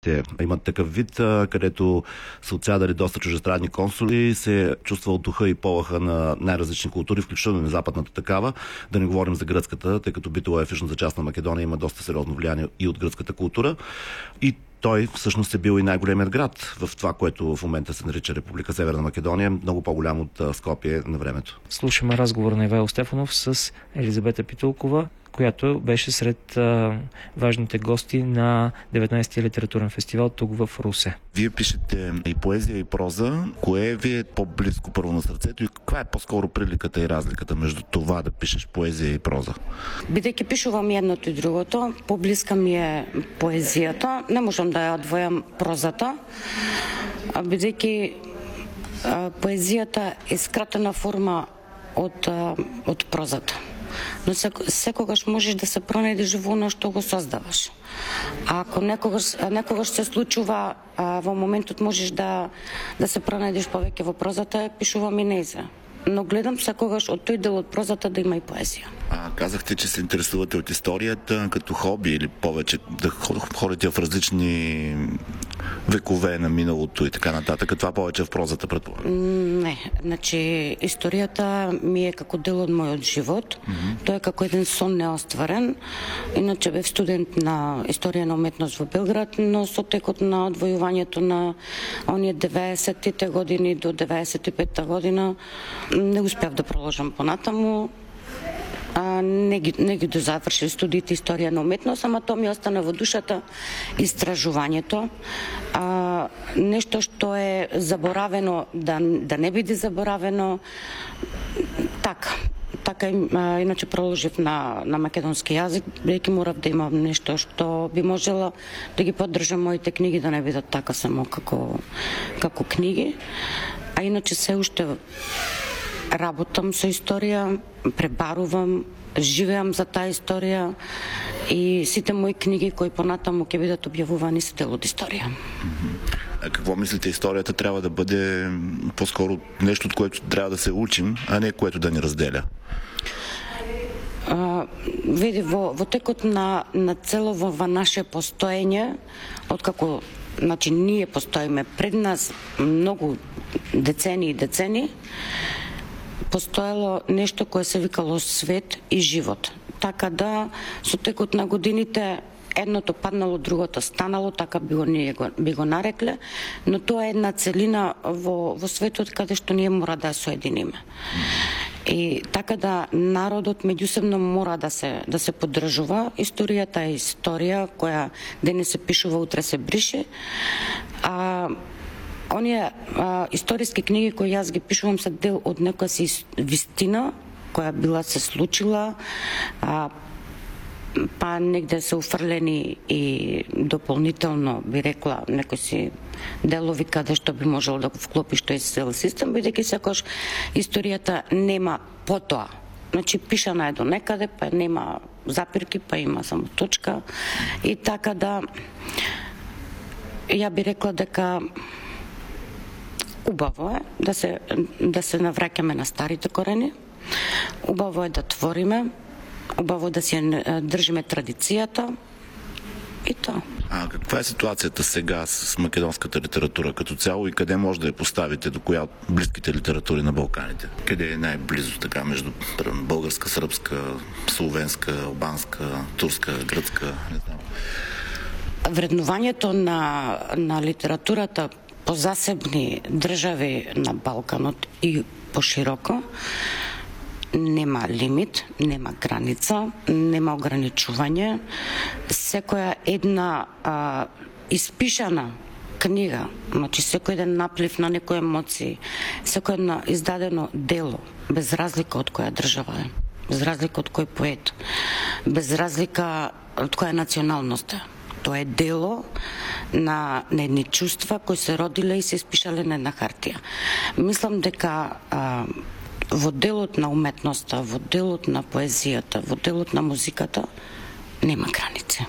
Те имат такъв вид, където са отсядали доста чужестранни консули, се чувства от духа и полаха на най-различни култури, включително и на западната такава. Да не говорим за гръцката, тъй като Битола е в южната част на Македония, има доста сериозно влияние и от гръцката култура. И той всъщност е бил и най-големият град в това, което в момента се нарича Република Северна Македония, много по-голям от Скопие на времето. Слушаме разговор на Ивайло Стефанов с Елизабета Питулкова, която беше сред важните гости на 19-ти литературен фестивал тук в Русе. Вие пишете и поезия, и проза. Кое ви е по-близко първо на сърцето и каква е по-скоро приликата и разликата между това да пишеш поезия и проза? Бидејќи пишувам едното и другото, поблиска ми е поезијата. Не можам да ја одвојам прозата, бидејќи поезијата е скратена форма од прозата. Но секогаш можеш да се пронајдеш во она што го создаваш. А ако некогаш се случува, во моментот можеш да се пронајдеш повеќе во прозата, пишувам и нејзе. Но гледам секогаш од тој дел од прозата да има и поезија. Казахте, че се интересувате от историята като хоби или повече да ходите в различни векове на миналото и така нататък. Това повече в прозата, предполагам? Не, значи историјата ми е како дел од мојот живот. Тој е како еден сон неостварен. Иначе бев студент на историја на уметност во Белград, но со текот на одвојувањето на оние 90-тите години до 95-та година не успев да проложам понатаму. Не ги дозавршил студиите историја на уметност, ама тоа ми остана во душата истражувањето. Нешто што е заборавено да не биде заборавено. Така иначе проложив на македонски јазик, бидејќи морав да имам нешто што би можела да ги поддржам моите книги да не бидат така само како книги. А иначе се уште работам со историја, пребарувам, живеам за таа историја и сите мои книги кои понатаму ќе бидат објавувани се дел од историја. А какво мислите, историјата трябва да бъде по-скоро нещо, от което трябва да се учим, а не което да ни разделя? Види, во текот на цело во наше постоење, откако ние постоиме, пред нас многу децени, постоело нешто кое се викало свет и живот. Така да, со текот на годините, едното паднало, другото станало, така би го нарекле, но тоа е една целина во светот каде што ние мора да ја соединиме. И така да народот меѓусебно мора да се поддржува. Историјата е историја која денес се пишува, утре се брише. Оние историски книги кои јас ги пишувам се дел од некоја си вистина која била се случила, па негде се уфрлени и дополнително, би рекла, некои си делови каде што би можело да го вклопиш тој цел систем, бидејќи секогаш историјата нема потоа. Значи пишана е до некаде, па нема запирки, па има само точка. И така да, ја би рекла дека убаво е да се навраќаме на старите корени, убаво е да твориме, убаво да си држиме традицијата и тоа. Каква е ситуацията сега с македонската литература като цяло и къде може да я поставите, до коя от близките литератури на Балканите? Къде е най-близо така между българска, сръбска, словенска, албанска, турска, гръцка? Не знам. Вреднувањето на литературата по засебни држави на Балканот и пошироко нема лимит, нема граница, нема ограничување. Секоја една испишана книга, значи секој еден наплив на некои емоции, секој едно издадено дело, без разлика од која држава е, без разлика од кој поет, без разлика од која националност е. Тоа е дело на едни чувства кои се родиле и се испишале на една хартија. Мислам дека во делот на уметноста, во делот на поезијата, во делот на музиката нема граници.